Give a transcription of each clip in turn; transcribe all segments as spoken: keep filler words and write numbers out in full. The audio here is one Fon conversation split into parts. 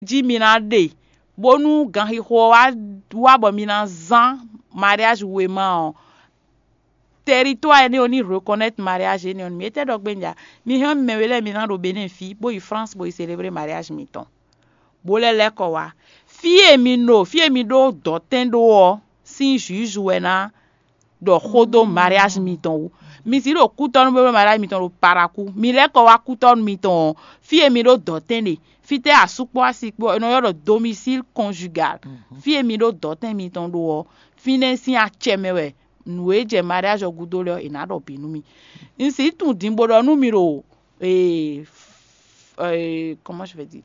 jí mi ná ɖe, bónú ganxixo ɔ́ wá wá bɔ mi ná zán mariage wěma ɔ́, territoire énɛ́ ɔ́ ní reconnaître mariage énɛ́ ɔ́ nú mi. Étɛ́ ɖɔ gbé un ja? Mi hɛn ɔ́, mi mɛ we lɛ́ɛ mi ná ɖo Benin fí, bó yi France, bó yi célébrer mariage mitɔn, bó lɛ́ lɛ́ kɔ wá. Fí e mi ɖo, fí e mi ɖó dɔ̌tɛn ɖó ɔ́ sín juge wɛ ná ɖɔ xó dó mariage mitɔn wú. Mi si ɖo kútɔ́nú bó ɖó mariage mitɔn ɖo Parakou. Mi lɛ́ kɔ wá kútɔ́nú mitɔn ɔ́, fí e mi ɖó dɔ̌tɛn ɖe, fítɛ́ asú kpó asi kpó ɔ́, è nɔ ylɔ́ ɖɔ domicile conjugal. Fí e mi ɖó dɔ̌tɛn mitɔn ɖó ɔ́, fínɛ́ sín acɛ mɛ wɛ nǔ e jɛ mariage ɔ́ gúdo lɛ́ɛ ɔ́, è nǎ ɖɔ bǐ nú mi. Un sixú tunwun din bó ɖɔ nú mi ɖo ee, ee, comment je vais dire,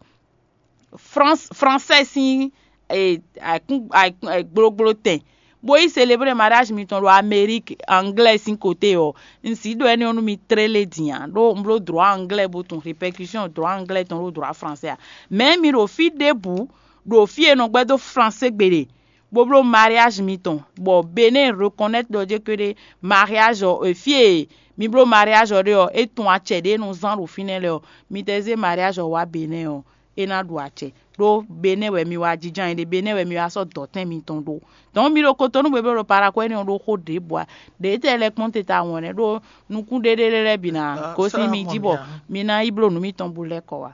France, français sín ee, ayǐkún- ayǐkún- ee, gblógbló tɛn, bó yi célébrer mariage mitɔn ɖo Amérique anglais sín côté ɔ́, un sixú ɖɔ énɛ́ ɔ́ nú mi tlélé din ǎ, ɖó un bló droit anglais bó tunwun répercussion droit anglais tɔn ɖó droit français ǎ. Mais mi ɖo fí ɖěbǔ, ɖo fí e nɔ gbɛ́ dó français gbe ɖe, bó bló mariage mitɔn, bɔ Benin reconnaître ɖɔ jé kpéɖé mariage ɔ́, e fí e mi bló mariage ɔ́ ɖe ɔ́, é tun acɛ ɖě e nɔ zán ɖo fínɛ́ lɛ́ɛ ɔ́, mi tɛ zé mariage ɔ́ wá Benin ɔ́, é ná ɖu acɛ. Ɖó Benin wɛ mi wá jínjɔ́n ayǐ ɖe, Benin wɛ mi wá sɔ́ dɔ̌tɛn mitɔn ɖó. Donc mi ɖo Cotonou bó bló ɖo Parakou énɛ́ ɔ́ ɖó xó ɖěbǔ ǎ. Ɖě tɛ lɛ́ kpɔ́n te ta wɔn nɛ́ ɖó nukún ɖéɖé lɛ́ɛ bǐ ná gosín mi jí bɔ mi ná yi bló nǔ mitɔn bó lɛ́ kɔ wá.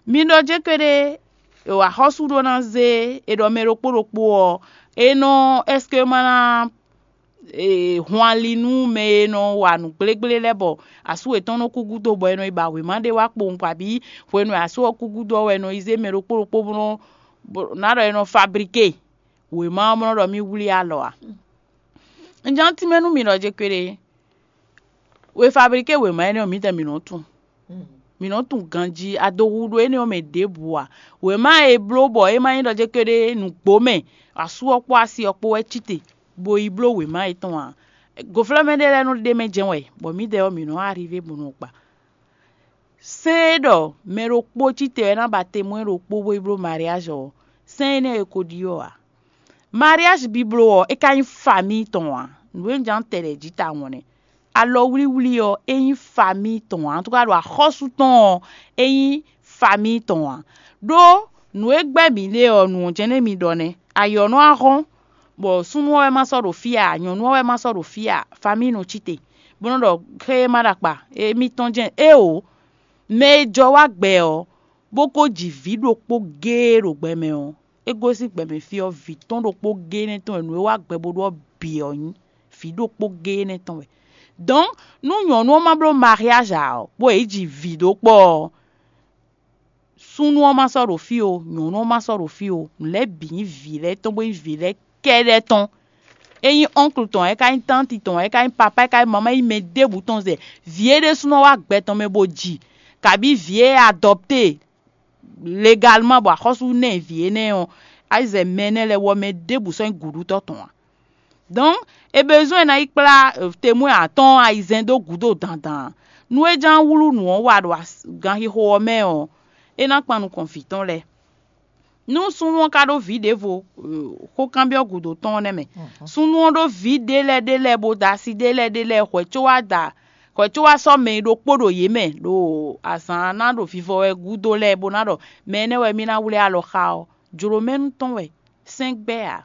Mi ɖɔ jé kpéɖé axɔ́sú ɖó ná zé è ɖɔ mɛ ɖokpó ɖokpó ɔ́, é nɔ, est-ce que ma ná hun ali nú mɛ e nɔ wa nǔ gblégblé lɛ́ɛ bɔ asú yětɔn nɔ kú gúdo bɔ è nɔ yi ba wěma ɖé wá kpowun kpa bǐ hwenu e asú ɔ́ kú gúdo ɔ́ wɛ è nɔ yi zé mɛ ɖokpó ɖokpó bó nɔ́ ná ɖɔ è nɔ fablíké wěma ɔ́ bó nɔ́ ɖɔ mì wlí alɔ a? Un ján tínmɛ nú mi ɖɔ jé kpéɖé. We fablíké wěma énɛ́ ɔ́, mǐtɛn mǐ nɔ́ tunwun. Mǐ nɔ́ tunwun ganjí adohuɖo énɛ́ ɔ́ mɛ ɖěbǔ ǎ. Wěma e è bló bɔ é ma nyí ɖɔ jé kpéɖé nǔgbó mɛ asú ɔ́ kpó asi ɔ́ kpó wɛ cí te, bó yi bló wěma yětɔn ǎ. Gǒflɛ́mɛ ɖé lɛ́ɛ nɔ ɖ'é mɛ jɛ́n wɛ, bɔ mǐdɛɛ ɔ́, mǐ nɔ́ arivé bó nɔ gba. Sɛ́n e ɖɔ mɛ ɖokpó cí te wɛ ná ba temwɛ́ ɖokpó bó yi bló mariáge ɔ́, sɛ́n énɛ́ e ko ɖyɔ́ ǎ. Mariáge bíbló ɔ́, é ka nyí famíi tɔn ǎ. Nǔ e un ján tɛ ɖɛ jí tawun nɛ́. Alɔwlíwlí ɔ́, é nyí famíi tɔn ǎ. Ntúká ɖo axɔ́sú tɔn ɔ́, é nyí famíi tɔn ǎ. Ɖó nǔ e gbɛ́ mǐ ɖe ɔ́, nǔ ɔ́ jɛ́n nɛ́ mi ɖɔ nɛ́. Ayǐ ɔ́ nɔ wá hɔ́n, bɔ súnnu ɔ́ wɛ ma sɔ́ ɖo fí ǎ, nyɔ̌nu ɔ́ wɛ ma sɔ́ ɖo fí ǎ, famíi nɔ cí te, bó nɔ́ ɖɔ xé e ma ɖo akpa, émítɔn jɛ́n éeǒ. Mɛ e jɔ wá gbɛ ɔ́, bó ko ji vǐ ɖokpó géé ɖo gbɛ mɛ ɔ́, é gosín gbɛmɛ fí ɔ́, vǐ tɔn ɖokpó géé nɛ́ tɔn wɛ nǔ e wá gbɛ bó ɖó ɔ́ bǐ ɔ́ nyí vǐ ɖokpó géé nɛ́ tɔn wɛ. Dɔ̌n, nú nyɔ̌nu ɔ́ ma bló mariáge ǎ ɔ́, bó yě ji vǐ ɖó kpɔ́ ɔ́, súnnu ɔ́ ma sɔ́ ɖo fí ó, nyɔ̌nu ɔ́ ma sɔ́ ɖo fí ó, nǔ lɛ́ɛ bǐ nyí vǐ lɛ́ɛ tɔn, bó nyí vǐ lɛ́ɛ kɛ́ɖɛ́ tɔn. É nyí ɔ́nklu tɔn, é ka nyí tánti tɔn, é ka nyí papá, é ka nyí mamá, é nyí mɛ ɖěbǔ tɔn zɛ. Vǐ e ɖésúnɔ wá gbɛ tɔn mɛ bó ji, kabí vǐ e adɔpté legalman bɔ axɔ́sú ná ɛ vǐ énɛ́ ɔ́, é zɛ mɛ énɛ́ lɛ́ɛ wú ɔ́, mɛ ɖěbǔ sɔ́ nyí gǔɖútɔ́ tɔn ǎ. Dɔ̌n, è bezɔ́n ná yi kplá temwɛ́ atɔ́ɔ́n ayizɛ́n dó gǔdo dandan. Nú é ján wlú nǔ ɔ́ wa ɖo ganxixo ɔ́ mɛ ɔ́, é ná kpan nukɔn vǐ tɔn lɛ́ɛ. Nú súnnu ɔ́ ka ɖó vǐ ɖěvo, xókanbyɔ́ gǔdo tɔn ɔ́ nɛ́ mɛ. Súnnu ɔ́ ɖó vǐ ɖé lɛ́ɛ ɖé lɛ́ɛ bó da asi ɖé lɛ́ɛ ɖé lɛ́ɛ hwɛ̌ có wá da hwɛ̌ có wá sɔ́ mɛ e ɖokpó ɖo yě mɛ ɖo azǎn ná ɖo vivɔ wɛ gúdo lɛ́ɛ bó ná ɖɔ mɛ énɛ́ wɛ mì ná wlí alɔ xá ɔ́, jlǒmɛnu tɔn wɛ, sɛ́n gbɛ́ ǎ.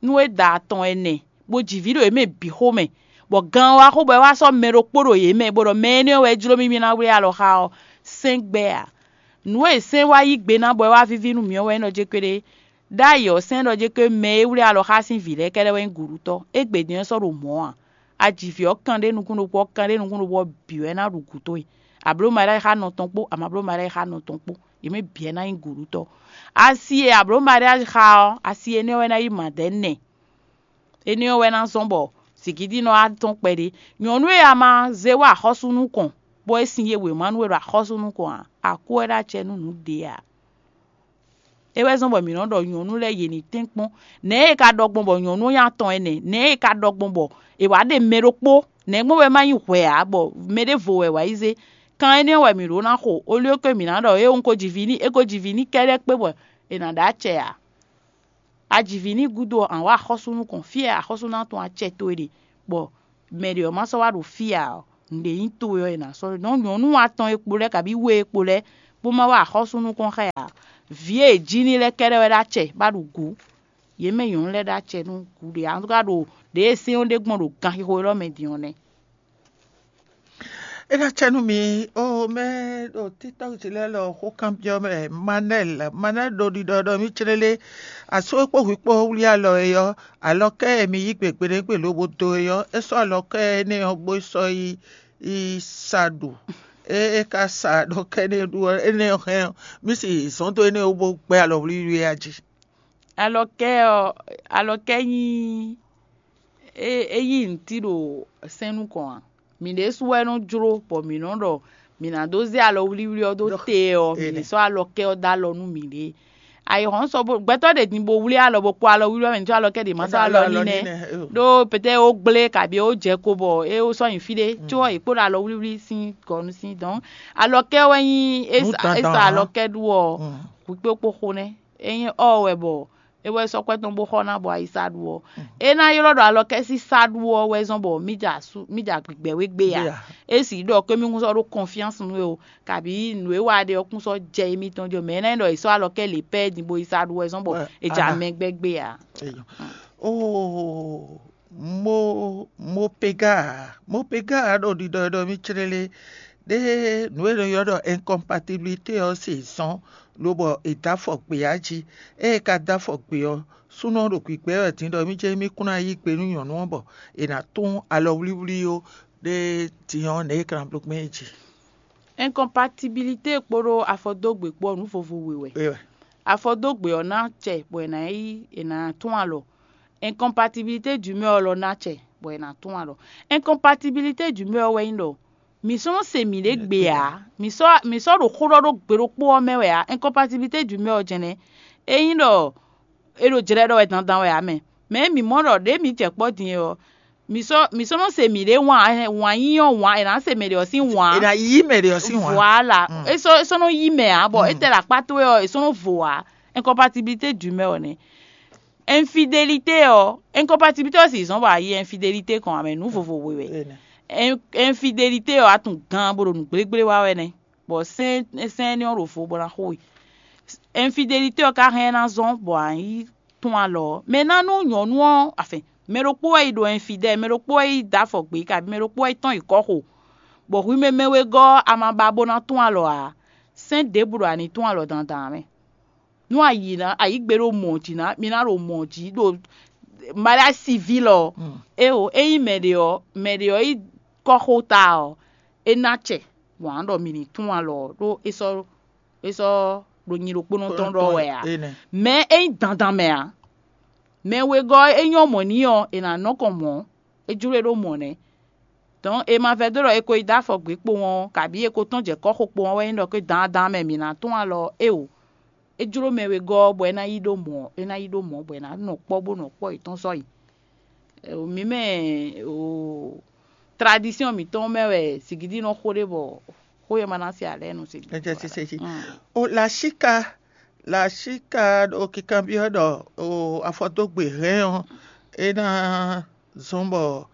Nú é da atɔn ɛnɛ, bó ji vǐ ɖo yě mɛ bǐ xomɛ, bɔ gan ɔ́ wá xo bɔ é wá sɔ́ mɛ ɖokpó ɖo yě mɛ, bó ɖɔ mɛ énɛ́ ɔ́ wɛ jló mì mì ná wlí alɔ xá ɔ́, sɛ́n gbɛ́ ǎ. Nǔ e sɛ́n wá yí gbe ná bɔ é wá víví nú mì ɔ́ wɛ nyí ɖɔ jé kpéɖé. Ɖ'ayǐ ɔ́, sɛ́n ɖɔ jé kpé mɛ e wlí alɔ xá sín vǐ lɛ́ɛ kɛ́ɖɛ́ wɛ nyí gǔɖútɔ́. Égbé din ɔ́ sɔ́ ɖo mɔ̌ ǎ. A ji vǐ ɔ́ kanɖé nukún ɖokpó, ɔ́ kanɖé nukún ɖokpó ɔ́ bǐ wɛ ná ɖu gǔ towe. A blǒ mariáge xá nɔ tɔn kpó, a ma blǒ mariáge xá nɔ tɔn kpó, yě mɛ bǐ wɛ ná nyí gǔɖútɔ́. Asi e a blǒ mariáge xá ɔ́, asi énɛ́ wɛ ná nyí mǎdɛ̌ nɛ. Énɛ́ ɔ́ wɛ ná zɔ́n bɔ zǐngídi nɔ wá tɔ́n kpɛɖé. Nyɔ̌nu e a ma zé wá axɔ́sú nukɔn, bɔ é sin ye wěma nú we ɖo axɔ́sú nukɔn ǎ, a kú wɛ ɖó acɛ nú nǔ ɖě ǎ. É wɛ zɔ́n bɔ mǐ nɔ ɖɔ nyɔ̌nu lɛ́ɛ yě ní tɛ́nkpɔ́n. Nɛ̌ e ka ɖɔ gbɔn bɔ nyɔ̌nu ɔ́ nyí atɔn ɛnɛ? Nɛ̌ e ka ɖɔ gbɔn bɔ è wǎ ɖe mɛ ɖokpó? Nɛ̌ gbɔn wɛ má nyí hwɛ ǎ, bɔ mɛ ɖěvo wɛ wǎ yi zé? Kan énɛ́ wɛ mǐ ɖó ná xo, olíó ke mǐ ná ɖɔ é un ko ji vǐ n'i, é ko ji vǐ n'i kɛ́ɖɛ́ kpé bɔ è nǎ ɖó acɛ ǎ. A ji vǐ n'i gúdo ɔ́, a wǎ axɔ́sú nukɔn, fí e axɔ́sú ná tɔn acɛ towe ɖe, bɔ mɛ ɖě ɔ́ ma sɔ́ wá ɖo fí ǎ ɔ́, nǔɖé nyí towe ɔ́, è nǎ sɔ́ ɖó. Dɔ̌n nyɔ̌nu atɔn e kpo lɛ́ɛ, kabí we e kpo lɛ́ɛ, bó má wá axɔ́sú nukɔn xá ɛ ǎ. Vǐ e è jí n'i lɛ́ɛ kɛ́ɖɛ́ wɛ ɖó acɛ bá ɖu gǔ. Yě mɛ nyɔ̌nu lɛ́ɛ ɖó acɛ nú gǔ ɖě, a ka ɖo ɖě e sɛ́n ɔ́ ɖe gbɔn ɖo ganxixo élɔ́ mɛ din ɔ́ nɛ́. É ná cɛ nú mi ó, mɛ ɖo TikTɔk jí lɛ́ɛ lɔ xó kanbyɔ́ mɛ. Manɛl, Manɛl ɖo ɖiɖɔ ɖɔ mì clélé, asú e kpó hwi kpó wlí alɔ e ɔ́, alɔkɛ́ e mi yí gbe gbeɖégbé lobo dó é ɔ́, é sɔ́ alɔkɛ́ énɛ́ ɔ́ gbó sɔ́ yi yi sa ɖu. É é ka sa alɔkɛ́ énɛ́ ɖu ɔ́, énɛ́ ɔ́ hɛn ɔ́, mì si zɔ̌n dó énɛ́ ɔ́ bó gbɛ́ alɔ wlíwlí é a jí. Alɔkɛ́ ɔ́, alɔkɛ́ nyí é é yí nǔtí ɖo sɛ́n nukɔn ǎ. Mǐ ɖésú wɛ nɔ jló bɔ mǐ nɔ ɖɔ mǐ ná dó zé alɔ wlíwlí ɔ́ dó te ɔ́, mǐ ní sɔ́ alɔkɛ́ ɔ́ dó alɔ nú mǐɖée. Ayǐhɔ́n sɔ bó gbɛtɔ́ ɖě din bó wlí alɔ bó kpó alɔ wlíwlí ɔ́ mɛ ní sɔ́ alɔkɛ́ ɖě ma sɔ́ alɔ n'i nɛ́. Ɖó pɛtɛ́ ó gblé kabi ó jɛ ko bɔ é ó sɔ́ nyi fí ɖé có è kpó ɖo alɔ wlíwlí sín gɔ̌ nú sín dɔn alɔkɛ́ wɛ nyí é sa alɔkɛ́ ɖu ɔ́ hwǐkpékpó xo nɛ́. É nyí ɔ́ wɛ bɔ é wɛ sɔ́ kwɛ́ tɔn bó xɔ ná bɔ ayi sa ɖu ɔ́. É ná ylɔ́ ɖɔ alɔkɛ́ sín sa ɖu ɔ́ wɛ zɔ́n bɔ mì ja asú mì ja gbigbɛ wé gbé ǎ. É sì ɖɔ kɔ́míkún sɔ́ ɖó kɔnfyánsi nú we o, kabi nǔ e wa ɖe ɔ́ kún sɔ́ jɛ émítɔn jí ɔ́, mɛ é ná nyí ɖɔ è sɔ́ alɔkɛ́ lě pɛ́ din bó yi sa ɖu wɛ zɔ́n bɔ è ja mɛ gbɛ́ gbé ǎ. Oo, mo mo pega ǎ, mo pega ǎ ɖo ɖiɖɔ e ɖɔ mì clélé ɖé nǔ e è nɔ ylɔ́ ɖɔ incompatibilité ɔ́ se zɔ́n lobɔ è dó afɔ gbe ǎ jí. Ée é ka dó afɔ gbe ɔ́, súnnu ɔ́ ɖo gbǐgbɛ́ wɛ din ɖɔ mì jɛ́n mì kún ná yí gbe nú nyɔ̌nu ɔ́ bɔ è nǎ tún alɔwlíwlí ó ɖé din ɔ́ nɛ̌ è ka ná bló gbɛn é jí. Incompatibilité kpódó afɔdógbè kpó ɔ́ nǔ vovo we wɛ. Afɔdógbè ɔ́ ná acɛ bɔ è nǎ yí è nǎ tún alɔ. Incompatibilité d'humeur ɔ́ lɔ ná acɛ bɔ è nǎ tún alɔ. Incompatibilité d'humeur ɔ́ wɛ nyí ɖɔ mǐ sɔ́ nɔ se mǐɖée gbe ǎ. Mǐ sɔ́ mǐ sɔ́ ɖo xó ɖɔ ɖó gbe ɖokpó ɔ́ mɛ wɛ ǎ. Incompatibilité d'humeur ɔ́ jɛnɛ. É nyí ɖɔ è ɖo jlɛ́ ɖɔ wɛ dandan wɛ ǎ mɛ. Mɛ̌ mǐ mɔ ɖɔ ɖěe mǐ jɛ kpɔ́ din é ɔ́, mǐ sɔ́ mǐ sɔ́ nɔ se mǐɖée wǎn wǎn yíyɔ́ wǎn è nǎ se mɛ ɖě ɔ́ sín wǎn. È nǎ yí mɛ ɖě ɔ́ sín wǎn. Voilà. É sɔ́ é sɔ́ nɔ yí mɛ ǎ bɔ é tɛ ɖo akpá towe ɔ́, è sɔ́ nɔ vo ǎ. Incompatibilité d'humeur ɔ́ nɛ́. Infidélité ɔ́, incompatibilité ɔ́ sì zɔ́n bɔ a yí infidélité kɔn ǎ mɛ nǔ vovo we wɛ. Infidélité ɔ́, a tunwun gan bo ɖo nǔgblégbé wa wɛ nɛ́, bɔ sɛ́n sɛ́n énɛ́ ɔ́ ɖo vo bó ná xo we. Infidélité ɔ́ ka hɛn ná zɔ́n bɔ a yí tún alɔ ɔ́. Mɛ ná nú nyɔ̌nu ɔ́, afin mɛ ɖokpó wɛ yi ɖo infidèle, mɛ ɖokpó wɛ yi dó afɔ gbě, kabi mɛ ɖokpó wɛ yi tɔ́n yi kɔ́ xo, bɔ hwi mɛ mɛ wegɔ́ ɔ́, a ma ba bó ná tún alɔ ǎ. Sɛ́n ɖěbǔ ɖo a ní tún alɔ dandan ǎ mɛ. Nú a yi ná a yǐ gbe ɖo mɔ̌ jí ná, mi ná ɖo mɔ̌ jí ɖo mariage civil ɔ́. Éwo, ényí mɛ ɖě ɔ́, mɛ ɖě ɔ́ yi kɔ́xota ɔ́, é ná acɛ wǎn ɖɔ mi ní tún alɔ ɔ́, ɖó é sɔ́ é sɔ́ ɖo nyi ɖokpónɔ tɔn ɖɔ wɛ ǎ. Mɛ é nyí dandan mɛ ǎ. Mɛ wegɔ́ é nyɔ́ mɔ̌ n'i ɔ́, è nǎ nɔ kɔn mɔ̌, é jló e ɖó mɔ̌ nɛ́. Dɔn è ma vɛdó ɖɔ è ko yi dó afɔ gbě kpowun ɔ́, kabǐ è ko tɔ́n jɛ kɔ́xo kpowun ɔ́ wɛ nyí ɖɔ ké dandan mɛ mǐ ná tún alɔ ɔ́, éwo. É jló mɛ wegɔ́ ɔ́ bɔ é ná yi ɖó mɔ̌, é ná yi ɖó mɔ̌ bɔ è nǎ nɔ kpɔ́ bó nɔ kpɔ́ yětɔn sɔ́ yi. Mǐ mɛ tradisyɔn mǐtɔn mɛ wɛ sigidi nɔ xo ɖe bɔ xó e ma ná se alɛ nú sigidi. Ɛ jɛ sese jí. O la sika la sika ɖo kikanbyɔ́ ɖɔ o afɔdógbe hɛn ɔ́ é ná zɔ́n bɔ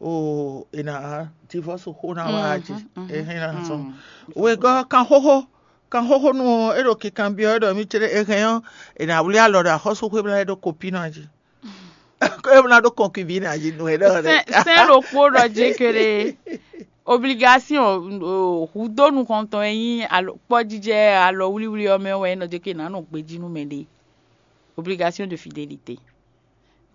o è nǎ divɔ́su xó ná wá jí. É hɛn ná zɔ́n wegɔ́ kan xóxó kan xóxó nú é ɖo kikanbyɔ́ ɖɔ mì céɖé é hɛn ɔ́ è nǎ wlí alɔ ɖo axɔ́súxwé bla é ɖó kopí ná jí. Ko é ná ɖó kɔnkubí ná jí nú é ɖɔ rɛ. Sɛn ɖokpó ɖɔ jé kéré. Obligation hudó nukɔntɔn e nyí kpɔ́jijɛ alɔ wlíwlí ɔ́ mɛ wɛ é nɔ jɛ kí nǎ nɔ gbejí nú mɛɖé. Obligation de fidélité.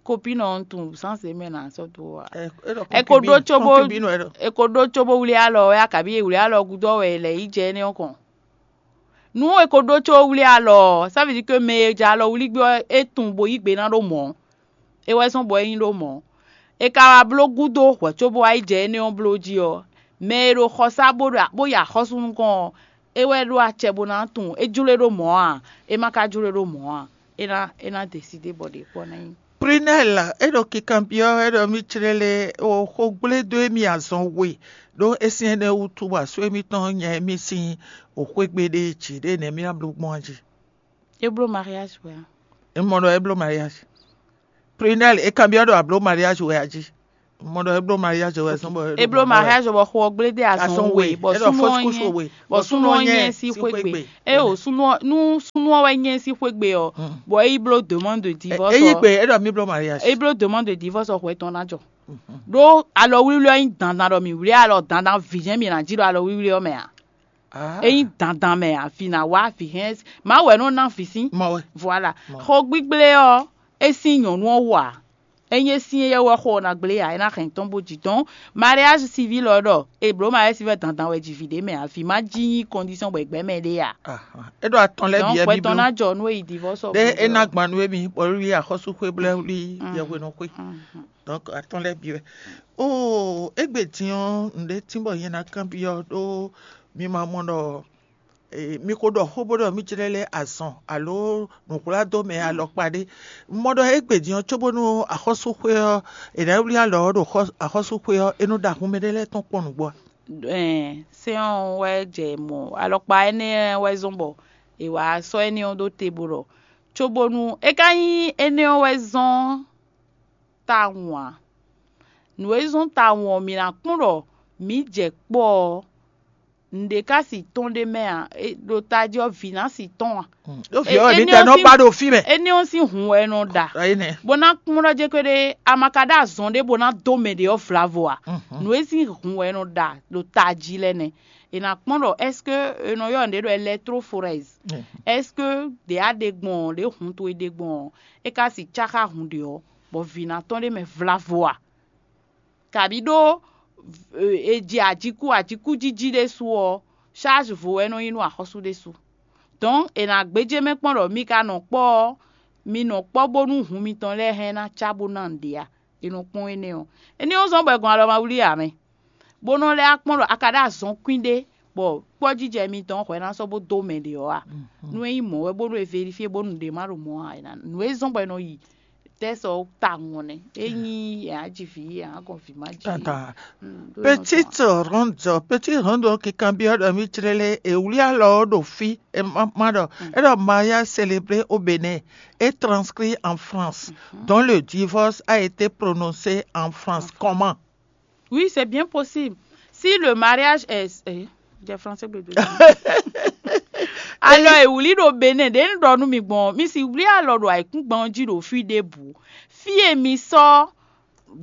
Kopí nɔ tun sánse mɛ nǎ sɔ́ dó wa. Ɛ ko ɖó cóbó ɛ ko ɖó cóbó wlí alɔ wɛ akabi wlí alɔ gúdɔ wɛ lɛ yi jɛ énɛ́ ɔ́ kɔn. Nú è ko ɖó có wlí alɔ ɔ́, ça veut dire que mɛ e jɛ alɔ wlí gbé ɔ́, é tunwun bo yí gbe ná ɖó mɔ̌. É wɛ zɔ́n bɔ é nyí ɖó mɔ̌. È ka wá bló gúdo hwɛ̌ cóbó wá yi jɛ énɛ́ ɔ́ bló jí ɔ́, mɛ e ɖo xɔsá bó ɖo bó yi axɔ́sú nukɔn ɔ́, é wɛ ɖó acɛ bó ná tunwun é jló e ɖó mɔ̌ a, é ma ka jló e ɖó mɔ̌ a, é ná é ná desidé bɔ ɖě kpɔ́ ná nyí. Prunelle, é ɖo kikanbyɔ́ wɛ ɖɔ mì clélé o xogblé dó émí azɔn we ɖó é sín énɛ́ wútu bɔ asú émítɔn nya émí sín o xwégbe ɖé jǐ ɖé nɛ̌ mì ná bló gbɔn jí. É bló mariage wɛ a? É mɔ ɖɔ é bló mariage. Prunelle, é kanbyɔ́ ɖɔ a bló mariage wɛ a jí. Mɔ ɖɔ e bló mariage wɛ zɔn bɔ e bló mariage bɔ xo ɔ́ gblé dé azɔn we, bɔ súnnu ɔ́ nyɛ bɔ súnnu ɔ́ nyɛ sín xwé gbe. Eye o súnnu ɔ́ nú súnnu ɔ́ wɛ nyɛ sín xwé gbe ɔ́, bɔ é yi bló demande de divorce. Ɔ́, é yi gbe é ɖɔ mi bló mariage. É bló demande de divorce ɔ́, xwɛ tɔn ná jɔ. Ɖó alɔwlíwlí ɔ́ nyí dandan ɖɔ mǐ wlí alɔ dandan vǐ jɛ́n mǐ ná jí ɖo alɔwlíwlí ɔ́ mɛ ǎ. É nyí dandan mɛ ǎ, vǐ ná wá vǐ hɛn. Mawu wɛ nɔ ná vǐ sín. Voilà. Xo gbígblé ɔ́, é sín nyɔ̌nu ɔ́ wú ǎ. Ényí é sín éyɛ́ wɛ xo ɔ́ ná gblé ǎ, é ná hɛn tɔn bó jǐ tɔn. Mariage civil ɔ́ ɖɔ è blǒ mariage civil dandan wɛ ji vǐ ɖé mɛ ǎ, vǐ má jí nyí condition bɔ è gbɛ́ mɛ ɖé ǎ. É ɖo atɔn lɛ́ɛ Donc bǐ wɛ hwɛ tɔn bíbló. Ná jɔ nú é yi divorce ɔ́. Ɖé é ná gban nú émí bɔ wlí axɔ́súxwé blɛ́ wlí yɛhwenɔxwé. Donc atɔn lɛ́ɛ bǐ wɛ. Oo, égbé din ɔ́, nǔɖé tín bɔ nyɛ ná kanbyɔ́ ɖó mi ma mɔ ɖɔ mi ko ɖɔ xó bó ɖɔ mì jlɛ́ lɛ́ azɔn alo nǔhwládó mɛ alɔkpa ɖé. Un mɔ ɖɔ égbé din ɔ́, cóbónú axɔ́súxwé ɔ́, è nǎ wlí alɔ ɔ́ ɖo xɔ- axɔ́súxwé ɔ́, é nɔ ɖo ahun mɛ ɖé lɛ́ɛ tɔn kpɔ́n nǔgbó a? Sɛ́n ɔ́ wɛ jɛ mɔ alɔkpa énɛ́ wɛ zɔ́n bɔ è wǎ sɔ́ énɛ́ ɔ́ ɖó te bó ɖɔ cóbónú é ka nyí énɛ́ ɔ́ wɛ zɔ́n tawun ǎ. Nǔ e zɔ́n tawun ɔ́, mǐ ná kpɔ́n ɖɔ mǐ jɛ kpɔ́ ɔ́, nǔɖé ka si tɔn ɖé mɛ ǎ, ɖo tají ɔ́, vǐ ná si tɔn ǎ. Ɖó vǐ ɔ́ wɛ mǐ tɛ nɔ ba ɖo fí mɛ. Énɛ́ ɔ́ sín hun wɛ é nɔ ɖa. Bó ná kpɔ́n ɖɔ jɛ kpé ɖé, a ma ka ɖó azɔn ɖé bó ná dó mɛ ɖě ɔ́ vlavo ǎ. Nǔ e sín hun wɛ é nɔ ɖa ɖo tají lɛ́ɛ nɛ́. È nǎ kpɔ́n ɖɔ est-ce que è nɔ ylɔ́ nǔɖé ɖɔ électrophorèse? Est-ce que ɖě a ɖe gbɔn ɔ́, ɖě hun towe ɖe gbɔn ɔ́, é ka si cáxá hun ɖě ɔ́, bɔ vǐ ná tɔn ɖé mɛ vlavo a? Kabǐ ɖó è ji ajíkú ajíkújíjí ɖésú ɔ́, charge vo wɛ é nɔ nyí nú axɔ́sú ɖésú. Donc è nǎ gbéjé mɛ kpɔ́n ɖɔ mi ka nɔ kpɔ́ ɔ́, mi nɔ kpɔ́ bónú hun mitɔn lɛ́ɛ hɛn ná cá bó ná nǔɖé a? È nɔ kpɔ́n énɛ́ ɔ́. Énɛ́ ɔ́ zɔ́n bɔ è gɔn alɔ ma wlí ǎ mɛ, bó nɔ lɛ́ wá kpɔ́n ɖɔ a ka ɖó azɔn kwín ɖé bɔ kpɔ́jijɛ mitɔn hwɛ ná sɔ́ bó dó mɛ ɖě ɔ́ a? Nú é nyí mɔ̌ wɛ bónú è vérifié bónú nǔɖé má ɖo mɔ̌ ǎ, nǔ e zɔ́n bɔ è nɔ yi tɛ́ sɔ tawun ɔ́ nɛ́. É nyí è nǎ ji vǐ, è nǎ gɔn vǐ má ji. Tata. Petite ronde, petite ronde ɔ́ kikanbyɔ́ ɖɔ mì jlɛ́ lé è wlí alɔ ɔ́ ɖo fí, è ma ɖɔ é ɖɔ mariage célébré au Bénin et transcrit en France, dont le divorce a été prononcé en France. Comment? Oui, c'est bien possible. Si le mariage est eh, j'ai français bébé. Alors, è wlí ɖo Bénin, ɖě un ɖɔ nú mi gbɔn, mi si wlí alɔ ɖo ayǐkúngban ɔ́ jí ɖo fí ɖěbǔ. Fí e mi sɔ́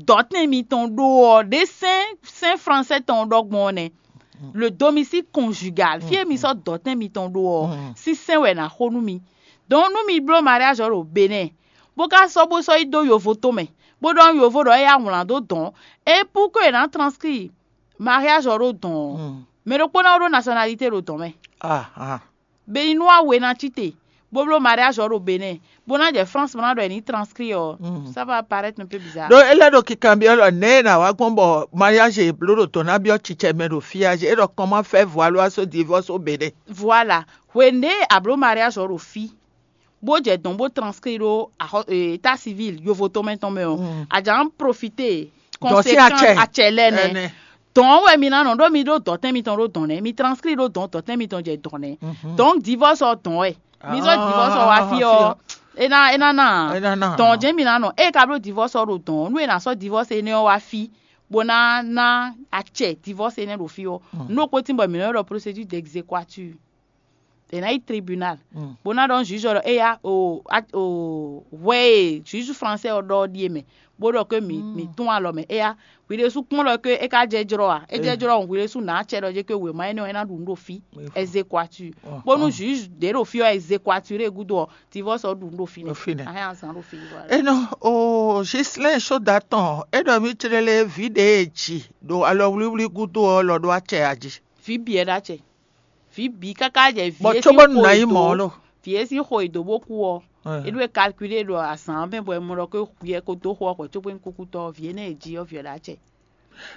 dɔ̌tɛn mitɔn ɖó ɔ́, ɖě sɛ́n sɛ́n français tɔn ɖɔ gbɔn ɔ́ nɛ́. Le domicile conjugal, fí e mi sɔ́ dɔ̌tɛn mitɔn ɖó ɔ́, sín sɛ́n wɛ è nǎ xo nú mi. Donc nú mi bló mariage ɔ́ ɖo Bénin, bó ka sɔ́ bó sɔ́ yi dó yovo tomɛ, bó ɖɔ nú yovo ɖɔ é yá wlán dó dɔ̌n, é pour que è nǎ transcrit mariage ɔ́ ɖó dɔ̌n ɔ́, mɛ ɖokpó ná ɖó nationalité ɖo dɔ̌n mɛ. Béninois we ná cí te, bó bló mariage ɔ́ ɖo Bénin, bó ná jɛ France bó ná ɖɔ è ní transcrit ɔ́, ça va paraître un peu bizarre. Ɖó é lɛ́ ɖo kikanbyɔ́ ɖɔ nɛ̌ è nǎ wá gbɔn bɔ mariage e bló ɖo dɔ̌n ná byɔ́ cicɛ mɛ ɖo fí a? É ɖɔ comment faire voir l'oiseau divorce au Bénin. Voilà. Hwenu ɖě a bló mariage ɔ́ ɖo fí, bó jɛ dɔ̌n bó transcrit ɖó état civil yovo tɔn mɛ tɔn mɛ ɔ́, a jǎ profité conséquence acɛ lɛ́ɛ nɛ́. Dɔ̌n wɛ mi ná nɔ ɖó mi ɖó dɔ̌tɛn mitɔn ɖó dɔ̌n nɛ́, mi transcrit ɖó dɔ̌n, dɔ̌tɛn mitɔn jɛ dɔ̌n nɛ́. Donc divorce ɔ́ dɔ̌n wɛ. Mi zɔ́ divorce ɔ́ wá fí ɔ́, é ná é ná ná dɔ̌n jɛ́n mi ná nɔ. Ée ka bló divorce ɔ́ ɖo dɔ̌n ɔ́, nú è nǎ sɔ́ divorce énɛ́ ɔ́ wá fí bó ná ná acɛ divorce énɛ́ ɖo fí ɔ́, nú ɖokpó tín bɔ mǐ nɔ ɖɔ procédure d'exéquatur. È nǎ yi tribunal bó ná ɖɔ nú juge ɔ́ ɖɔ éya o hwɛ e juge français ɔ́ ɖɔ ɔ́ ɖíe mɛ, bó ɖɔ ké mǐ mǐ tún alɔ mɛ éya. Hwi ɖésú kpɔ́n ɖɔ ké é ka jɛ jlɔ́ a? É jɛ jlɔ́ hwi ɖésú nǎ acɛ ɖɔ jɛ ké wěma énɛ́ ɔ́ é ná ɖu nǔ ɖo fí. Exéquatur. Bónú juge ɖě ɖo fí ɔ́ exéquatur é gúdo ɔ́, divorce ɔ́ ɖu nǔ ɖo fí nɛ́. Ahɛn azǎn ɖo fí. Enɔ o Gislɛn sóda tɔn é ɖɔ mì tlélé vǐ ɖě e ji ɖo alɔwlíwlí gúdo ɔ́ lɔ ɖó acɛ a jí? Vǐ bǐ wɛ ɖó acɛ. Vǐ bǐ káká jɛ vǐ e sín xo è dǒ. Vǐ e sín xo è dǒ bó kú ɔ́, é ɖó é calculé ɖo azǎn mɛ bɔ è mɔ ɖɔ ké hwi ɛ ko dó xo ɔ́ hwɛ̌ cóbó nyí kúkútɔ́ ɔ́, vǐ énɛ́ e jí ɔ́, vǐ ɔ́ ɖó acɛ.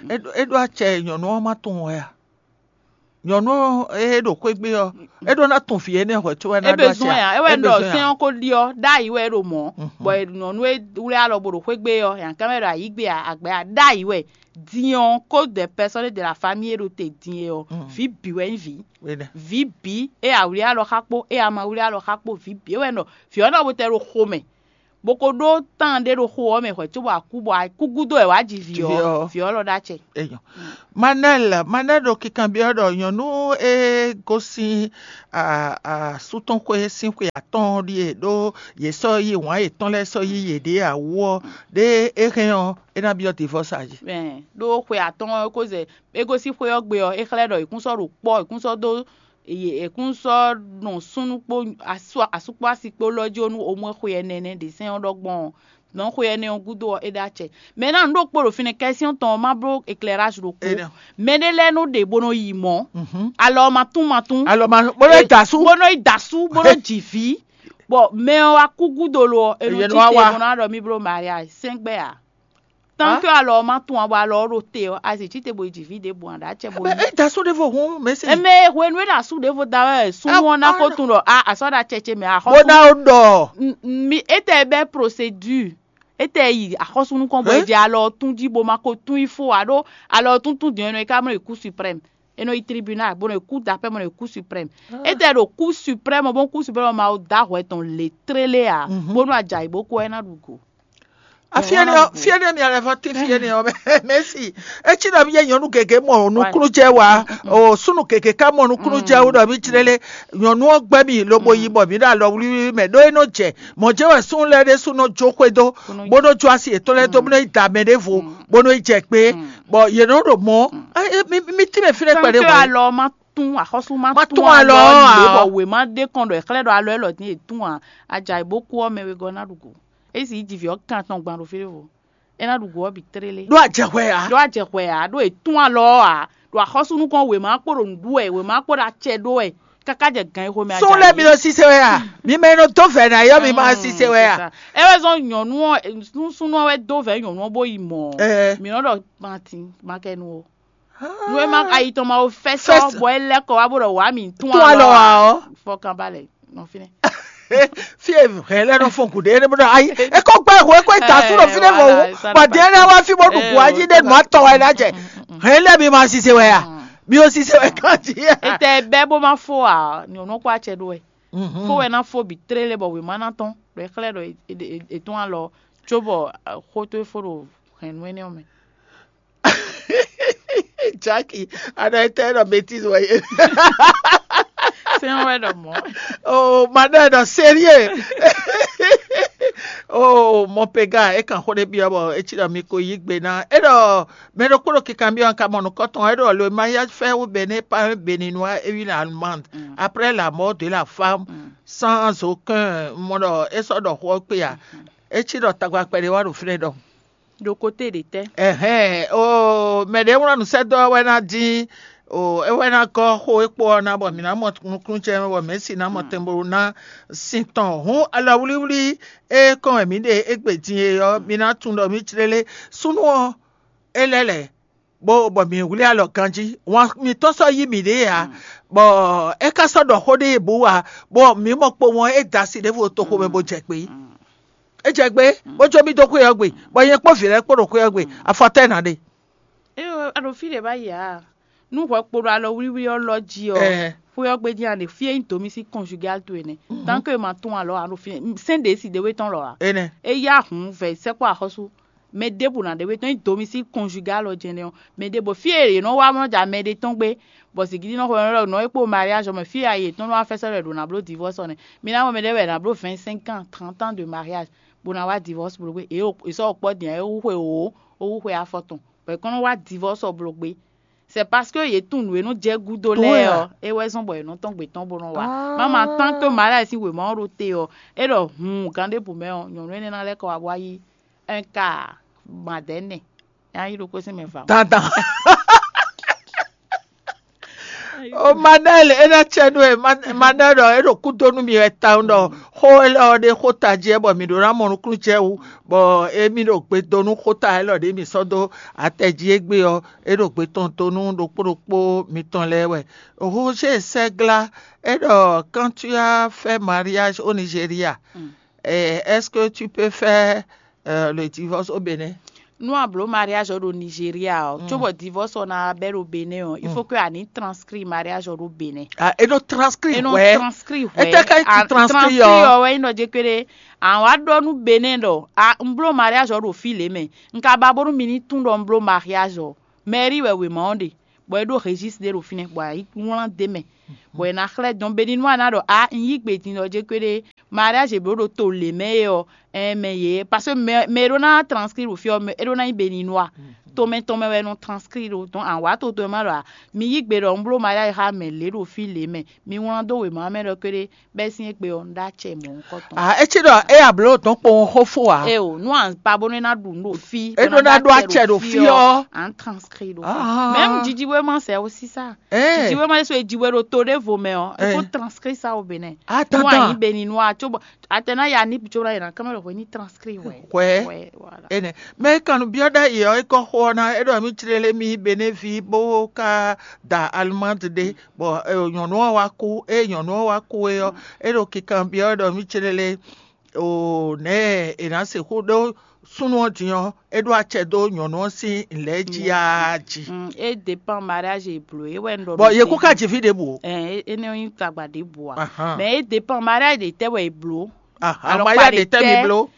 É ɖó acɛ nyɔ̌nu ɔ́ má tunwun wɛ a? Nyɔ̌nu ɔ́ e ɖo xwé gbe ɔ́, é ɖó ná tun vǐ énɛ́ hwɛ̌ có wɛ ná ɖó acɛ. É besoin a? É wɛ un ɖɔ sɛ́n ɔ́ ko ɖi ɔ́, ɖ'ayǐ wɛ é ɖo mɔ̌, bɔ nyɔ̌nu e wlí alɔ bó ɖo xwé gbe ɔ́, nyankánmɛ ɖo ayǐ gbe a, agbɛ a, ɖ'ayǐ wɛ. Din ɔ́, code des personnes de la famille e ɖo te din e ɔ́, vǐ bǐ wɛ nyí vǐ. Vǐ bǐ, e a wlí alɔ xá kpó, e a ma wlí alɔ xá kpó, vǐ bǐ. É wɛ un ɖɔ vǐ ɔ́ ná bo tɛ ɖo xomɛ. Bó ko ɖó tán ɖé ɖo xo ɔ́ mɛ hwɛ̌ cóbɔ a kú, bɔ a kú gúdo wɛ wǎ ji vǐ ɔ́, vǐ ɔ́ lɔ ɖó acɛ. Enyɔ. Manel, Manel ɖo kikanbyɔ́ ɖɔ nyɔ̌nu e gosín asú tɔn xwé sín xwe atɔ́ɔ́n ɖíe ɖó yě sɔ́ yí wǎn yětɔn lɛ́ɛ sɔ́ yí yěɖée ǎ wú ɔ́, ɖé é hɛn ɔ́, é ná byɔ́ divɔ́s a jí. Ɖó xwe atɔ́ɔ́n ɔ́ ko zɛ é gosín xwé ɔ́ gbe ɔ́, é xlɛ́ ɖɔ è kún sɔ́ ɖo kpɔ́, è kún sɔ́ dó è kún sɔ́ nɔ súnnu kpó asú kpó asi kpó lɔ jó nú omɔ́ xwe ɛnɛ nɛ́ ɖě sɛ́n ɔ́ ɖɔ gbɔn ɔ́, nɔ xwe ɛnɛ ɔ́ gúdo ɔ́, é ɖó acɛ. Mɛ ná nǔ ɖo kpo ɖo fínɛ́ kɛ́syɔ́n tɔn ɔ́ má bló éclairage ɖokpó. Mɛ ɖé lɛ́ɛ nɔ ɖe bó nɔ yi mɔ̌, alɔ ma tún ma tún, alɔ ma bó nɔ yi da asú, bó nɔ yi da asú, bó nɔ ji vǐ. Bɔ mɛ ɔ́ wá kú gúdo lo ɔ́, è nɔ cí te bó ná ɖɔ mì bló mariage sɛ́ngbɛ́ ǎ. Tant que alɔ ɔ́ ma tún ǎ, bɔ alɔ ɔ́ ɖo te ɔ́, a zě cí te bo yi ji vǐ ɖěbǔ ǎ, ɖo acɛ bo yi. É da asú ɖěvo hǔn, mɛ se. Eme hwenu e ɖo asú ɖěvo da wɛ súnnu ɔ́ ná ko tún ɖɔ a asɔ ɖo acɛ ce mɛ axɔ́sú. Bó ná ó ɖɔ. Mi étɛ bɛ procédure, étɛ yi axɔ́sú nukɔn bɔ é jɛ alɔ ɔ́ tún jí bo ma ko tún yi fó ǎ ɖó alɔ ɔ́ tún tún din ɔ́, é nɔ yi ká mɔ yi kú suprême, é nɔ yi tribunal bó nɔ yi kú d'appel bó nɔ yi kú suprême. Étɛ ɖo kú suprême bó kú suprême ma da hwɛ tɔn lě tlélé ǎ, bónú a jɛ ayǐ bó kú ɔ́ é ná ɖu go. Afiɛnɛ ɔ́, fiɛnɛ mi alɛ vɔ ti fiɛnɛ ɔ́ mɛ mɛsi. Etsi ɖɔ mi yɛ nyɔnu gege mɔ nukúnnú jɛ wa, o súnnu gege ká mɔ nukúnnú jɛ wo ɖɔ mi tsirele nyɔnu ɔ́ gbɛ mi lobo yi bɔ mi ɖo alɔ wlíwlí mɛ ɖó é nɔ jɛ mɔ jɛ wɛ súnnu lɛ ɖe súnnu jó xwé dó bó nɔ jó asi yětɔn lɛ dó bó nɔ yi da mɛ ɖé vo bó nɔ yi jɛ gbé bɔ yě nɔ ɖo mɔ mi ti mɛ fi ɖe kpɛɖé wɔ. Alɔ ma tún axɔ́sú ma tún alɔ ɔ́ ǎ. Bɔ wěma ɖe kɔn ɖɔ è xlɛ́ ɖɔ alɔ élɔ́ dín è tún ǎ, a jɛ ayǐ bó kú ɔ́ mɛ wegɔ́ ná ɖu go. É sì yi ji vǐ ɔ́ kan tɔn gban ɖo fí ɖěvo. É ná ɖu go ɔ́ bǐ tlélé. Ɖó a jɛ hwɛ ǎ. Ɖó a jɛ hwɛ ǎ, ɖó è tún alɔ ɔ́ ǎ, ɖo axɔ́sú nukɔn wěma kpó ɖo nǔɖuɖu wɛ, wěma kpó ɖo acɛ ɖó wɛ, káká jɛ gan e xomɛ a jɛ. Sún lɛ́ɛ mi ɖo sise wɛ a? Mi mɛ e nɔ dó vɛ̌ ná yɔ mi ma sise wɛ a? É wɛ zɔn nyɔ̌nu ɔ́, súnnu ɔ́ wɛ dó vɛ̌ nyɔ̌nu ɔ́ bó yi mɔ̌. Mi nɔ ɖɔ matin makɛnu o. Nú é má ayi tɔn ma wo fɛ́sɔ́ bɔ é lɛ́ kɔ wá bó ɖɔ wǎ mì tún alɔ ǎ ɔ́. Fɔkànbalẹ̀ nɔ fínɛ́. Fí e hɛn lɛ́ nɔ fɔn gǔɖé é bó ɖɔ ayi é kó gbá ehwɛ é kó da sú ɖo fínɛ́ vɔ wú bɔ dɛ́ lɛ́ wá fí bó ɖu gǔ ají ɖé nǔ atɔ wɛ ná jɛ. Hɛn lɛ́ mi ma sise wɛ a? Mi o sise wɛ kán jí. Ètè bɛ́ bó má fó ǎ, nyɔ̌nu kó acɛ ɖó wɛ. Fó wɛ ná fó bǐ tlélé bɔ wěma ná tɔ́n ɖɔ é xlɛ́ ɖɔ è tún alɔ cóbɔ xó tó é fó ɖo hɛ̌nnu énɛ́ ɔ́ mɛ. Jackie, a nɔ tɛ nɔ bêtise wɛ ye. Sɛn wɛ ɖɔ mɔ. Oh, madame, non, sérieux. Oh, mon péga, é kan xó ɖé byɔ́ bɔ é cí ɖɔ mi ko yí gbe ná. É ɖɔ mɛ ɖokpó ɖo kikanbyɔ́ ka mɔ nukɔntɔn, é ɖɔ le mariage fait au Bénin par un Béninois et une Allemande. Après la mort de la femme, sans aucun, mɔ ɖɔ é sɔ́ ɖɔ xó ɔ́ kpé a? É cí ɖɔ tagba kpɛɖé wá ɖo fínɛ́ ɖɔ. Ɖo kote ɖě tɛ́? Ɛhɛn, o mɛ ɖě wlán nǔsɛ́dó ɔ́ wɛ ná dín o é wɛ ná gɔ́ xó e kpo ɔ́ ná bɔ mǐ ná mɔ nukúnnú ce mɛ bɔ mɛ̌si ná mɔ tɛnbɔlú ná sin tɔn. Hǔn alɔwlíwlí e kɔn wɛ mǐ ɖe égbé din e ɔ́, mi ná tunwun ɖɔ mǐ jlélé súnnu ɔ́ é lɛ́ lɛ̌, bó bɔ mǐ wlí alɔ ganjí. Wǎn mǐtɔn sɔ́ yí mǐɖée ǎ, bɔ é ka sɔ́ ɖɔ xó ɖé bǔ ǎ, bɔ mǐ mɔ kpowun ɔ́ é da asi ɖěvo toxo mɛ bó jɛ kpé. É jɛ gbé, bó jó mì dó xwé ɔ́ gbe, bɔ nyɛ kpó vǐ lɛ́ɛ kpó ɖo xwé ɔ́ gbe, afɔ tɛ́ nǎ ɖe. Ée a ɖo fí ɖě bá yi ǎ, nú hwɛ kpo ɖo alɔ wlíwlí ɔ́ lɔ jí ɔ́, xwé ɔ́ gbe jí a ɖe fí e nyí domicile conjugal towe nɛ́. Tant que ma tún alɔ a ɖo fí sɛn ɖě si ɖéwé tɔn lɔ ǎ. Énɛ́. É yá hǔn vɛ sɛkpɔ́ axɔ́sú mɛ ɖěbǔ ná ɖéwé tɔn nyí domicile conjugal ɔ́ jɛnɛ ɔ́, mɛ ɖěbǔ fí e yě nɔ wá mɔ ja mɛ ɖé tɔn gbé, bɔ zǐngídi nɔ xwɛ nɔ ɖɔ nɔ é kpo mariage ɔ́ mɛ fí e a yi yě tɔn nɔ wá fɛ́sɔ́ ɖɔ è ɖǒ ná bló divorce ɔ́ nɛ́. Mi ná mɔ mɛ ɖé wɛ è nǎ bló vingt cinq ans, trente ans de mariage, bó ná wá divorce bló gbé. È sɔ́ kpɔ́ din ǎ, é hú xwe wǒ, ó hú xwe afɔ tɔn, bɔ è kɔn nɔ wá divorce ɔ́ bló gbé. C'est parce que yě tunwun nǔ e nɔ jɛ gúdo lɛ́ɛ ɔ́, é wɛ zɔ́n bɔ yě nɔ tɔn gbě tɔn bó nɔ wá. Má ma tán tó Maria sín wěma ɔ́ ɖo te ɔ́, é ɖɔ hun gǎn ɖěbǔ mɛ ɔ́, nyɔ̌nu énɛ́ ná lɛ́ kɔ wá bó wá yí un ka madɛ̌nɛ, é ná yí ɖokpó sín mɛ va. Dandan. O Manel, é ná cɛ nú ɛ. Manel ɖɔ é ɖo kúdó nú mi wɛ tawun ɖɔ xó élɔ́ ɔ́ ɖé xó tají wɛ bɔ mǐ ɖó ná mɔ nukúnnú jɛ wú, bɔ émí ɖo gbe dó nú xóta élɔ́ ɖě mǐ sɔ́ dó atɛ jí égbé ɔ́, é ɖo gbe tɔn dó nú ɖokpó ɖokpó mitɔn lɛ́ɛ wɛ. Roger Sɛgla, é ɖɔ quand tu as fait mariage au Nigeria, eh, est-ce que tu peux faire euh, le divorce au Bénin? Nú a blǒ mariage ɔ́ ɖo Nigeria ɔ́, cóbɔ divorce ɔ́ ná bɛ́ ɖo Benin ɔ́, il faut que a ní transcrit mariage ɔ́ ɖo Benin. Ah, e nɔ transcrit E nɔ wɛ. Transcrit Ete ka yi a- transcrit transcrit ɔ. Ɔ́ wɛ nyí ɖɔ jɛ kpéɖé. Àwọn wá ɖɔ nú Benin ɖɔ a un bló mariage ɔ́ ɖo fí lě mɛ. Un ka ba bónú mi ní tún ɖɔ un bló mariage ɔ́. Mairie wɛ wěma ɔ́ ɖe, bɔ é ɖó registre ɖé ɖo fínɛ́, bɔ a yi wlán d'é mɛ, bɔ è nǎ xlɛ́ dɔn Beninois ná ɖɔ a un yí gbe din ɖɔ jɛ kpéɖé. Mariage è blǒ ɖo to lě mɛ é ɔ́, ɛn mɛ yě, parce que mɛ mɛ e ɖó ná transcrit ɖo fí ɔ́, mɛ é ɖó ná nyí Beninois. Tomɛ tɔn mɛ wɛ nɔ transcrit ɖo, donc an wǎ to tɔn ma ɖɔ a mi yí gbe ɖɔ un bló mariage xá mɛ lě ɖo fí lě mɛ, mi wlán dó wěma mɛ ɖɔ kpéɖé, bɛ́ sín égbé ɔ́ un ɖó acɛ mɔ̌hunkɔtɔn. Ah, e ci ɖɔ e abló dɔn kpowun xó fó a. E o, nú an pa bónú é ná ɖu nú ɖo fí, É ɖó ná ɖó acɛ ɖo fí ɔ́. An transcrit ɖo. Ah. Même Didi wé ma sɛ aussi ça. Eh. Didi wé ma sɛ so Didi wé ɖo to ɖé vo mɛ ɔ́, il faut Eh. Transcrit ça au Bénin. Ah, Nú attends. Anyi Beninois, tso bɔ atɛna ya ni tso na yina kamɛ lɔ ni transcrit wɛ. Wɛ. Wɛ, voilà. Ene. Mɛ kanu biɔ ɖe yi ɔ, e kɔ xo ɔ́ ná, e ɖɔ mi tlele mi Benin ví bó ka da allemande ɖe, bɔ e, nyɔnu ɔ́ wá kú, e nyɔnu ɔ́ wá kú e ɔ́, e ɖo kikan biɔ e ɖɔ mi tlele o nɛ e ná sixú ɖó súnnu ɔ́ din ɔ́, e ɖó acɛ dó nyɔnu ɔ́ sín lɛ̌ jí a jí. Mm, e dépend mariage e blo e wɛ n ɖɔ. Bɔ yě kú ka jí fí ɖěbǔ o. Ɛ ene yin tagba ɖe bua. Ahan. Mais e dépend mariage de tɛ wɛ e blo. Ahan, maya de tɛ mi blo.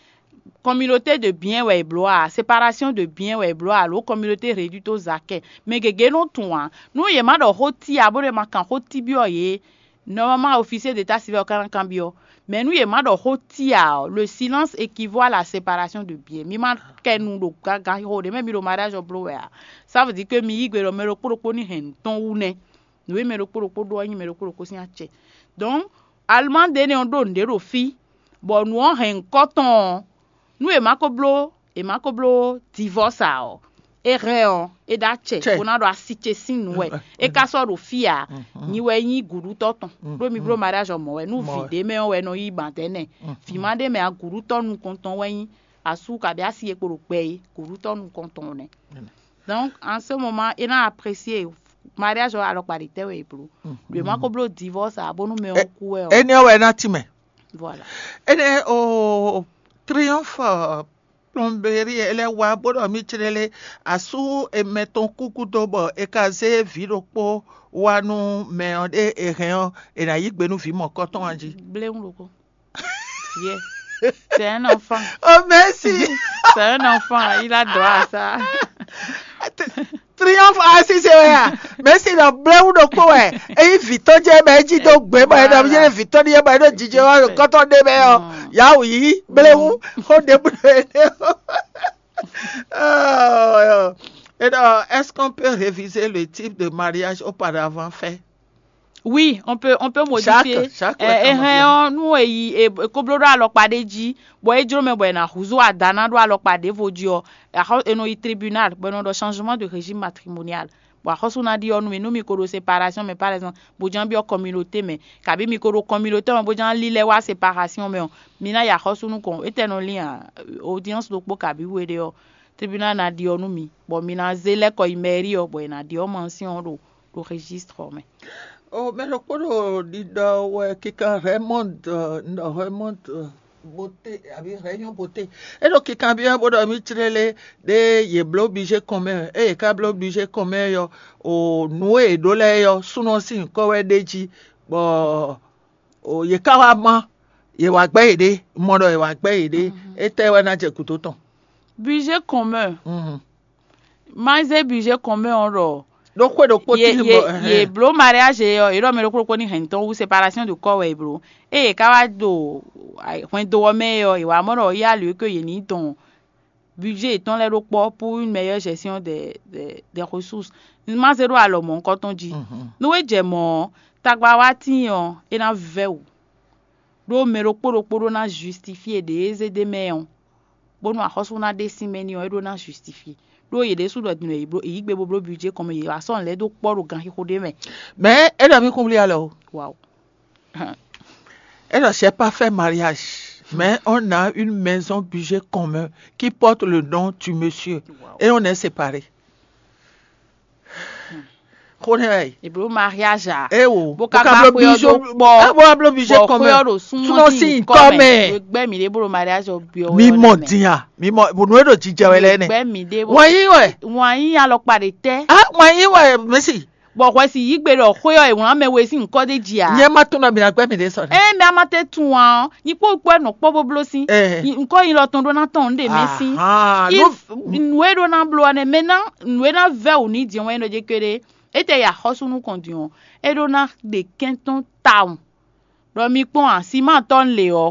Communauté de bien wɛ e blo a, séparation de bien wɛ e blo a, alo communauté réduite aux acquêts. Mais gege nɔ tun a, nu ye ma ɖɔ xó ti a bó ɖe ma kan xó ti biɔ ye. Normalement officier d'état civil ɔ ka ná kanbyɔ. Mais nu ye ma ɖɔ xó ti a ɔ, le silence équivaut à la séparation de bien. Mi ma kɛ nu ɖo gaga xo ɖe mɛ mi ɖo mariage ɔ blo wɛ a. Ça veut dire que mi yí gbe ɖɔ mɛ ɖokpó ɖokpó ní hɛn tɔn wu nɛ. Nu e mɛ ɖokpó ɖokpó ɖó ɔ́ nyí mɛ ɖokpó ɖokpó sín acɛ. Donc allemande énɛ́ ɔ́ ɖó nǔɖé ɖo fí, bɔ nǔ ɔ́ hɛn ŋkɔ tɔn ɔ́, nú è ma ko bló è ma ko bló divorce a ɔ, é hɛn ɔ é ɖó acɛ. Bó ná ɖo asi ce sín nǔ wɛ. É ka sɔ́ ɖo fí a, nyi wɛ nyí gǔɖutɔ́ tɔn. Ɖó mi bló mariage ɔ mɔ̌ wɛ nú vǐ ɖé mɛ ɔ́ wɛ nɔ yí ban dɛ̌ nɛ. Vǐ ma ɖé mɛ a gǔɖutɔ́ nukɔn tɔn wɛ nyí. Asú kabi asi e kpo ɖo gbɛ é gǔɖutɔ́ nukɔn tɔn nɛ. Donc en ce moment é ná apprécier mariage ɔ alɔkpa ɖe tɛ wɛ e blo. Ɖo ma ko blo divorce a bónú mɛ ɔ́ kú wɛ ɔ. Eni ɔ́ wɛ ná ti mɛ. Voilà. Ene o triomphe plomberie ele wa bó ɖɔ mi tlele asú emɛ tɔn kúkú dó bɔ e ka zé vǐ ɖokpó wá nú mɛ ɔ́ ɖé e hɛn ɔ́, e ná yí gbe nú vǐ mɔ̌kɔtɔn ɔ́ jí. Bléwu ɖokpó. Yeah. C'est un enfant. Oh, merci. C'est un enfant. Il a droit à ça. Triomphe asise wɛ a, mɛsi nɔ blewu ɖokpó wɛ. Eyi vitɔ jɛ mɛ edzi do gbɛ mɛ ɛdɔ yɛ vitɔ ni yɛ mɛ ɛdɔ jijɛ wa kɔtɔ ɖe mɛ ɔ, yawu yi blewu xɔ ɖe bu ɖe. Et donc, est-ce qu'on peut réviser le type de mariage auparavant fait? Oui, on peut, on peut modifier. Chaque, chaque Eh, eh, hein, nous, eh, eh, eh, koblo ɖo alɔkpa ɖe dzi, bɔ e jlo mɛ bɔ e na huzo adana ɖo alɔkpa ɖevo dzi ɔ, axɔ e nɔ yi tribunal bɔ e nɔ ɖɔ changement de régime matrimonial. Bɔ axɔsu na ɖi ɔnu mi nú mi ko ɖo séparation mɛ par exemple, bó ján byɔ communauté mɛ, kabi mi ko ɖo communauté mɛ bó ján lílɛ wá séparation mɛ ɔ, mi ná yi axɔsu nukɔn. Etɛ nɔ lin a, audience ɖokpó kabi we ɖe ɔ, tribunal na ɖi ɔ nú mi, bɔ mi na zé lɛkɔ yi mairie ɔ, bɔ e na ɖi ɔ mansion ɔ ɖo ɖo registre ɔ mɛ. O mɛ ɖokpó ɖo ɖiɖɔ wɛ kika Raymond, nɔ Raymond Bote abi Rayon Bote. E ɖo kika byɔ bó ɖɔ mi tlele ɖe ye bló budget kɔn mɛ, e ye ka bló budget kɔn mɛ yɔ, o nǔ e ye ɖó lɛ́ɛ yɔ súnɔ sín nyǐkɔ wɛ ɖ'é jí, bɔ o ye ka wá má ye wá gbɛ́ yeɖée, mɔ ɖɔ ye wá gbɛ́ yeɖée, étɛ́ wɛ ná jɛ gǔdo tɔn? Budget commun. Mazé budget commun ɔ ɖɔ ɖokpó ɖokpó ye tí ye bɔ ye blo mariage ɔ, ye ɖɔ mɛ ɖokpó ɖokpó ní hɛn tɔn wu séparation de corps wɛ ye blo. Eye ka wá do hwɛndo ɔ mɛ ɔ, ye wá mɔ ɖɔ ya lui que ye ní tɔn budget tɔn lɛ ɖo kpɔ pour une meilleure gestion des des des ressources. Mazé ɖo alɔ mɔ ŋkɔ tɔn jí. Nú e jɛ mɔ ɔ, tagba wá tíin ɔ, é ná vɛ́ wǔ. Ɖó mɛ ɖokpó ɖokpó ɖó ná justifié ɖě e zé ɖ'é mɛ ɔ́, bónú axɔ́sú ná ɖe sín mɛ n'i ɔ́, é ɖó ná justifié. Ɖó yě ɖésú ɖɔ din wɛ yě bló yě yí gbe bó bló budget kɔn mɛ, yě wá sɔ́ nǔ lɛ́ɛ dó kpɔ́ ɖo gan xixo ɖé mɛ. Mais e ɖɔ mi kún wlí alɔ o. Wawu. E ɖɔ j'ai pas fait mariage, mais on a une maison budget commun qui porte le nom du monsieur et on est séparés. Xó nɛ́ wɛ. È blǒ mariage a? Éwo. Bó ka gbá xwé ɔ́ dó kpɔ. Abo ablo bi jɛ Bɔ kɔn xwé ɔ́ mɛ. ɖo Súnmọ́ súnmọ́ sí sí nkɔ́ nkɔ́ mɛ. Mɛ gbɛ́ mǐ ɖé bó ɖo mariage ɔ́ byɔ́ wɛ. Mi mɔ din a? Mi mɔ bonu e ɖo jijɛ wɛ lɛ nɛ. Gbɛ́ mǐ ɖé bó. Wọ́n yí wɛ. Wọ́n yí alɔkpa ɖe tɛ́. Ah, wọ́n yí wɛ mɛsi. Bɔ hwɛ si yí gbe ɖɔ xwé ɔ́ è wlǎn mɛ we sín nkɔ́ ɖé jí a? Nyɛ ma tún nɔ mi na gbɛ mi ɖe sɔ. Ɛ mɛ a ma tɛ tún wa ɔ́, nyi kpó kpó ɛ nɔ kpɔ́ bó bló sín. Ɛ. Nyi nkɔ́ nyi lɔ tɔn ɖó ná tɔn nú ɖe mɛ sín. Ahan, Yi ló- nǔ e ɖó ná bló ɔ́ nɛ mɛ ná nǔ e ná vɛ́ wǔ ní jɛ́n wɛn ɖɔ jɛ kpéɖé. Étɛ ya xɔ́sú nú kɔn din ɔ́, é ɖó ná ɖe kɛn tɔn tawun. Ɖɔ mi kpɔ́n a, siman tɔn lě ɔ́,